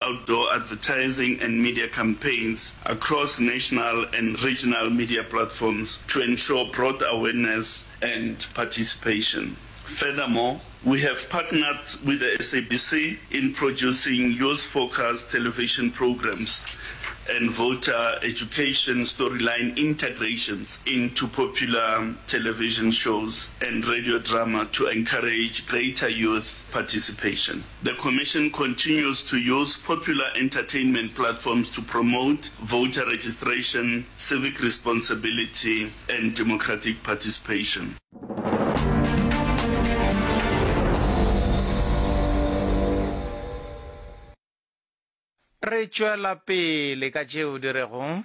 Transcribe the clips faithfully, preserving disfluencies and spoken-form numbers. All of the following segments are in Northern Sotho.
outdoor advertising and media campaigns across national and regional media platforms to ensure broad awareness and participation. Furthermore, we have partnered with the S A B C in producing youth-focused television programs and voter education storyline integrations into popular television shows and radio drama to encourage greater youth participation. The Commission continues to use popular entertainment platforms to promote voter registration, civic responsibility, and democratic participation. Re tšwela pele ka tšeo di rego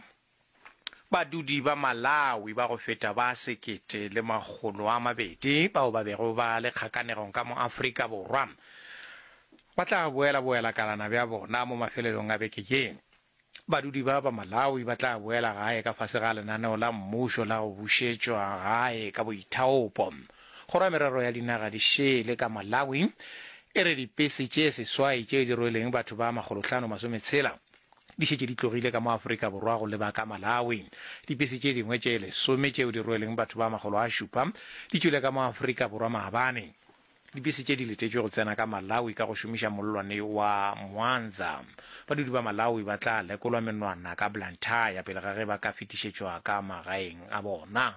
badudi ba Malawi ba go feta ba sekete le makgolo a mabedi bao ba bego ba le kgakanegong ka mo Afrika Borwa ba tla boela boelakalana bja bona mo mafelelong a beke ye. Badudi ba ba Malawi ba tla boela gae ka fase ga lenaneo la mmušo la go bušetšwa gae ka boithaopo. Kgoro ya Merero ya Dinaga di Šele ka Malawi e re dipese tše seswai tše di rweleng batho ba makgolohlano masometshela di šetše di tlogile ka mo Afrika Borwa go leba ka Malawi. Dipese tše dingwe tše lesome tšeo di rweleng batho ba makgolo a šupa di tšwele ka mo Afrika Borwa maabane. Dipese tše di letetšwe go tsena ka Malawi ka go šomiša mollwane wa Mwanza. Badudi ba Malawi ba tla lekolwa menwana ka Blantyre pele ga ge ba ka fetišetšwa ka magaeng a bona.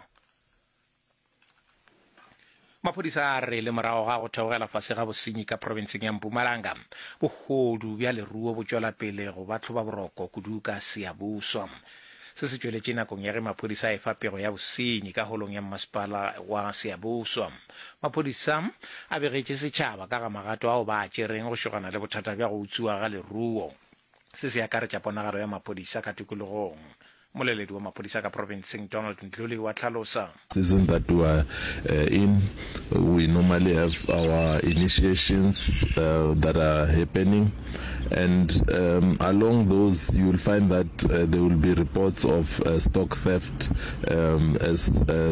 Maphodisa a re le morago ga go theogela fase ga bosenyi ka profenseng ya Mpumalanga, bohodu bja leruo bo tšwela pele go ba tlhobaboroko kudu ka Siyabuswa. Se se tšweletše nakong ya ge maphodisa a efa pego ya bosenyi ka holong ya mmasepala wa Siyabuswa. Maphodisa a begetše setšhaba ka ga magato ao ba a tšereng go šogana le bothata bja go utswiwa ga leruo. Se se akaretša ponagalo ya maphodisa ka tikologong. Moleledi wa maphodisa ka profenseng Donald Ndluli wa hlalosa. Season that we are in, we normally have our initiations that are happening, and along those you will find that there will be reports of stock theft, as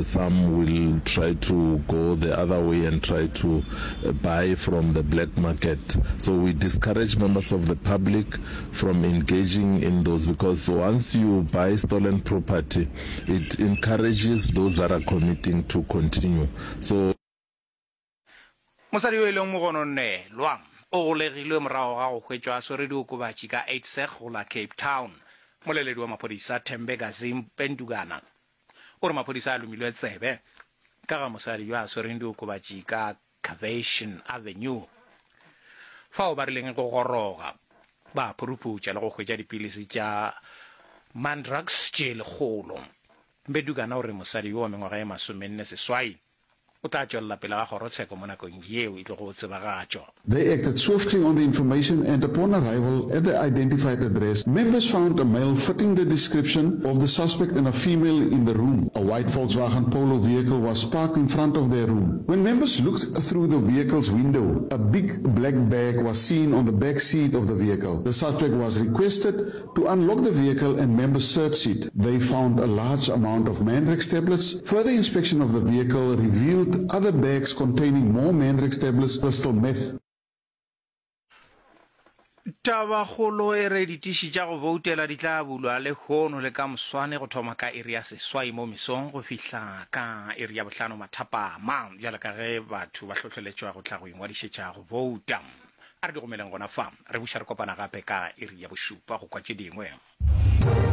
some will try to go the other way and try to buy from the black market. So we discourage members of the public from engaging in those, because once you buy stolen property, it encourages those that are committing to continue. So Mosadi yo e leng mogononelwa o golegilwe morago ga go hwetšwa a swere diokobatši ka Uitsig go la Cape Town. Moleledi wa maphodisa Thembeka Zim-Pendugana o re maphodisa a lomilwe tsebe ka ga mosadi yo a swereng diokobatši ka Cavation Avenue fao ba rileng go goroga ba phuruputša le go hwetša dipilisi tša Mandrax tše lekgolo. Mbedugana o re mosadi yo wa mengwaga ye masomenne seswai o tla tšwelela pele ga kgorotsheko mo nakong yeo e tlogo tsebagatšwa. They acted swiftly on the information and upon arrival at the identified address, members found a male fitting the description of the suspect and a female in the room. A white Volkswagen Polo vehicle was parked in front of their room. When members looked through the vehicle's window, a big black bag was seen on the back seat of the vehicle. The suspect was requested to unlock the vehicle and members searched it. They found a large amount of Mandrax tablets. Further inspection of the vehicle revealed other bags containing more Mandrax tablets, crystal meth. Tabakgolo e re ditiši tša go boutela di tla bulwa lehono le ka moswane go thoma ka iri ya seswai mo mesong go fihla ka iri ya bohlano mathapama, bjalo ka ge batho ba hlohleletšwa go tla go ingwadišetša go bouta. A re di gomeleng gona fa, re buša re kopana gape ka iri ya bošupa go kwa tše dingwe.